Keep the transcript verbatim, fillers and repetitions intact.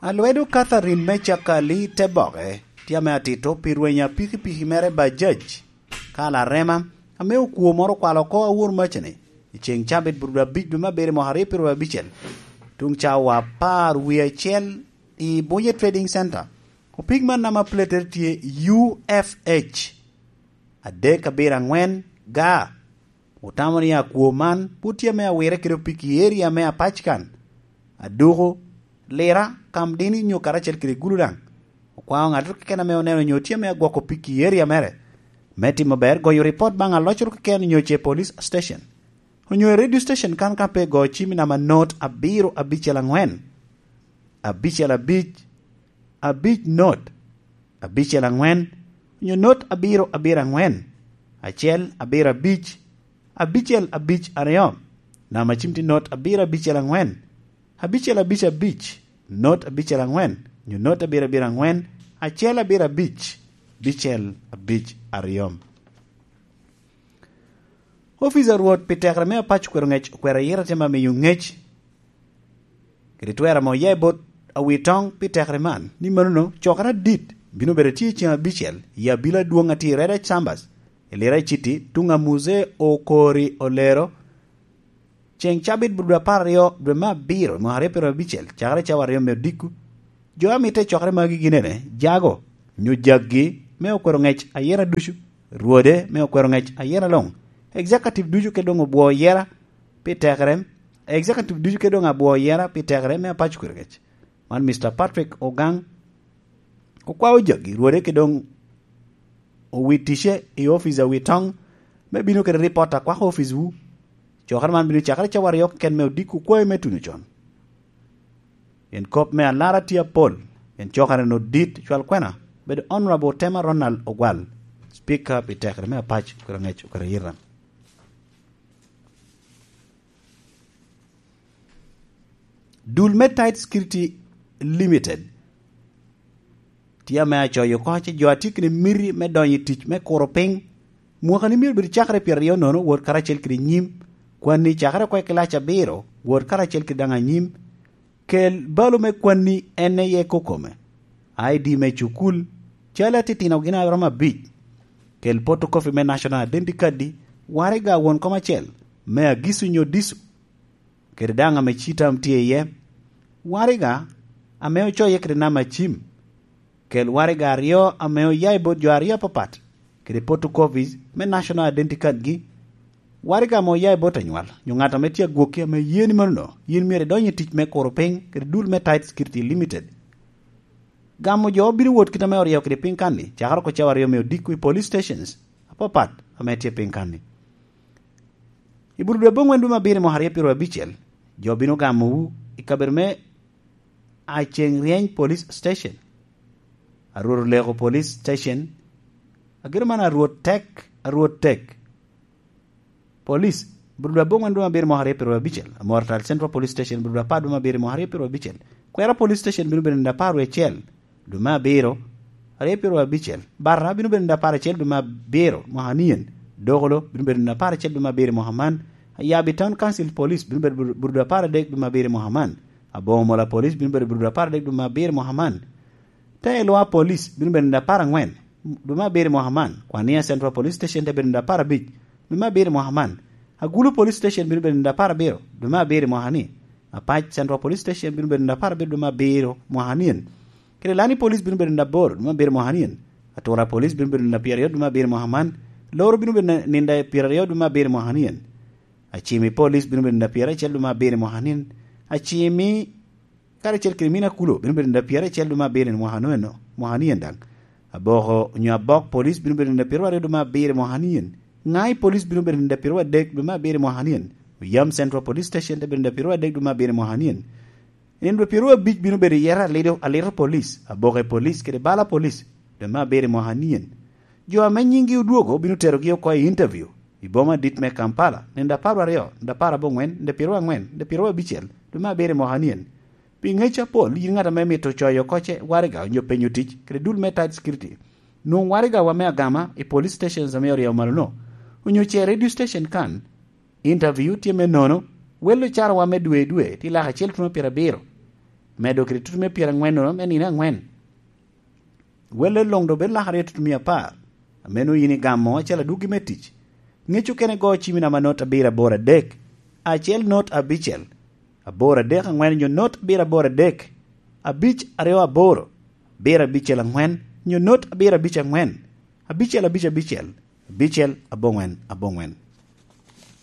Alwedo Catherine me Cakali te boke tye ame atito pi rwenya pikipiki mere Bajaj ka larema ame okwo moro okwalo oko awor macani i ceŋ cabit burudu abic dwe me abiro mwaka aryo piro abicel tuŋ cawa apar wie acel i Bunye Trading Center. Opig man nama platere tye U F H adek abiro aŋwen ga. Otamo ni akwo man pwod tye ame awire kede opiki i eria me Apackan, Aduku, Lira, Kamdini nyo karacel kede Gulu daŋ. Okwao ŋattoro keken ame oneno nyo tye ame agwoko opiki i eria mere me timo ber goyo ripot baŋ alocoro keken nyo ce police station onyo i radio station kan ka pe go cim i namba not abiro abicel aŋwen, abicel abic, abic not, abicel aŋwen, onyo not abiro abiro aŋwen, acel abiro abic, abicel abic aryo. Namba cim tye not abiro abicel aŋwen, abicel abic abic, not abicel aŋwen, onyo not abiro abiro aŋwen, acel abiro abic, bicel abic aryo. Ofice a Rwot pi tekere me Apac okwero ŋec okwero ayira te ma miyo ŋec kede twero ame oya i bot awi toŋ pi tekere man, ni manono cokere adit bino bedo tye i ceŋ abicel i abila adwoŋ a tye i Red Chambers i Lira i Citi tuŋ a Muzee Okori Olero, ceŋ cabit burudu apar aryo dwe me abiro mwaka aryo piro abicel cakere cawa aryo me odiko. Jo a mitte i cokere magi gin ene, jago, nyo jaggi me okwero ŋec ayera ducu, rwode me okwero ŋec ayera luŋ, executive ducu ke doŋ obwo yera pi tekere, executive ducu ke doŋ abwo yera pi tekere me Apac okwero ŋec. Man Mister Patrick Ogang okwao jaggi rwode ke doŋ owi ticce i ofice a wi toŋ me bino kede ripot a kwako oficewu. Cokere man bino cakere cawa aryo keken me odiko kwayo me tuno con. En kop me alara tye apol, en cokere no dit cwal kwena bedo Honorable Tema Ronald Ogwal, Speaker pi tekere me Apac okwero ŋec okwero yita. Dul me Tide Security Limited tye ame acoyo oko ce jo a tye kede miti me donyo i tic me kuro piny. Mwaka ni myero bed cakere pyeraryo nono wot karacel kede nyim, kwanni cakere oko i kilac abiro wot karacel kede daŋ anyim. Kel balo me kwanni en iye kokome, I D me cukul, cal atitino gin aromo abic. Kel photocopy me National Identity Card, waraga won kom acel me agisu nyo disu, kede daŋ ame citam tye iye, waraga ame ocoye kede namba cim. Kel waraga aryo ame oya i bot jo aryo apapat, kede photocopies me National Identity Card gi. Waraga ame oya i bot anywal nyo ŋat ame tye agwokki ame ye ni manono yin myero idony i tic me kuro piny kede dul me Tide Security Limited. Gamo jo bino wot kit ame oryeyo kede piny kan-ni cakere oko cawa aryo me odiko i police stations apapat ame tye piny kan-ni. I burudu aboŋwen dwe me abiro mwaka aryo piro abicel, jo bino gamowu i kabedo me Aceŋ Ryeny Police Station, Arwot Oleko Police Station, agiro man Arwot Tek, Arwot Tek. Police, burudu aboŋwen dwe me abiro mwaka aryo piro abicel, Amor Tal Central Police Station, burudu apar dwe me abiro mwaka aryo piro abicel. Kwera Police Station bino bedo nino apar wie acel dwe me abiro, aryo piro abicel. Barra bino bedo nino apar acel dwe me abiro mwaka nien. Dokolo bino bedo nino apar acel dwe me abiro mwaka man. Ayabi Town Council Police bino bedo bur-, burudu apar adek dwe me abiro mwaka man. Aboŋo Mola Police bino bedo burudu apar adek dwe me abiro mwaka man. Te Elwa Police bino bedo nino apar angwen dwe me abiro mwaka man. Kwania Central Police Station te bedo nino apar abic dwe me abiro mwaka man. Agulu Police Station bino bedo nino apar abiro dwe me abiro mwaka ni. Apac Central Police Station bino bedo nino apar abiro dwe me abiro mwaka nien. Kede Lani Police bino bedo nino aboro dwe me abiro mwaka nien. Atura Police bino bedo nino pyeraryo dwe me abiro mwaka man. Loro bino bedo nino pyeraryo dwe me abiro mwaka nien. Acimi Police bino bedo nino pyeraryo acel dwe me abiro mwaka nien. Acimi karacel kede Mina Kulo bino bedo nino pyeraryo acel dwe me abiro mwaka nien, mwaka nien daŋ. Aboko nyo Abok Police bino bedo nino pyeraryo dwe me abiro mwaka nien. Ŋai Police bino bedo nino pyeraryo adek dwe me abiro mwaka nien. Oyam Central Police Station te bedo nino pyeraryo adek dwe me abiro mwaka nien. Nino pyeraryo abic bino bedo yero alito, alito Police, Aboke Police kede Bala Police dwe me abiro mwaka nien. Jo ame nyinggi odwogo bino terogi oko i interview i boma adit me Kampala nino apar aryo, nino apar aboŋwen, nino pyeraryo angwen, nino pyeraryo abicel dwe me abiro mwaka nien. Pi ŋec apol, yin ŋat ame mito coyo oko ce waraga onyo penyo tic kede dul me Tide Security, nwoŋ waraga wa me agama i police stations ame oryeyo malo-no, onyo ce radio station kan. Interview tye me nono, wel ocara wa me dwe i dwe tye lak acel tuno pyerabiro. medo kede tutumia pyeraŋwen-nono me nino aŋwen. Welle luŋ doŋ bed lakere i tutumia apar, ameno yin igamo acalo adwoggi me tic. Ŋec okene go cimmi namba not abiro aboro adek, acel not abicel, aboro adek aŋwen nyo not abiro aboro adek, abic aryo aboro, abiro abicel aŋwen nyo not abiro abic aŋwen, abicel abic abicel, abicel aboŋwen aboŋwen.